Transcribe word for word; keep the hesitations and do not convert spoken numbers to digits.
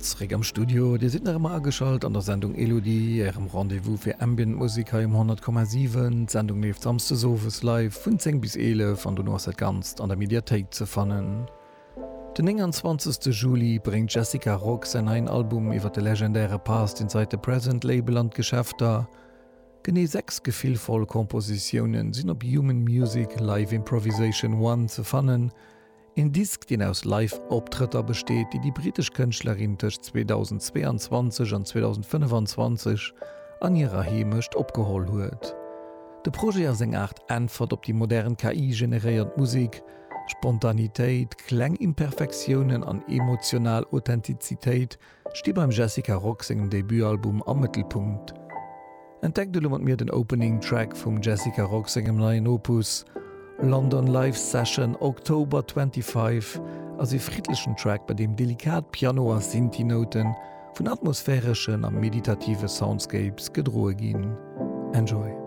Zréck am Studio, Dir sidd nach ëmmer ageschalt an der Sendung Elodie, Ärem Rendez-vous fir Ambient Musek hei um honnert Komma siwen. D'Sendung leeft samsdes owes live vun zéng bis eelef an dono ass dat Ganzt an der Mediathéik ze fannen. Den nénganzwanzegste Juli bréngt d'Jessica Rock säin neien Album iwwer de legendäre Past Inside the Present Label an d'Geschäfter. Genee sechs gefillvoll Kompositiounen sinn op Human Music Live Improvisation One ze fannen, een Disk, deen aus Live-Optrëtter besteet, déi déi brittesch Kënschtlerin tëscht zweedausendzweeanzwanzeg an zweedausendfënneffanzwanzeg an hirer Heemecht opgeholl huet. De Projet ass eng Aart Äntwert op déi modern K I-generéiert Musek. Spontanitéit, kleng Imperfektiounen an emotional Authentizitéit sti beim Jessica Rock sengem Debutalbum am Mëttelpunkt. Entdeckt elo mat mir den Opening Track vum Jessica Rock sengem neien Opus. London Live Session October twenty five ass ee friddlechen Track, bei deem delikat Piano a Synthi-Noute vun atmosphäreschen a meditative Soundscapes gedroe ginn. Enjoy!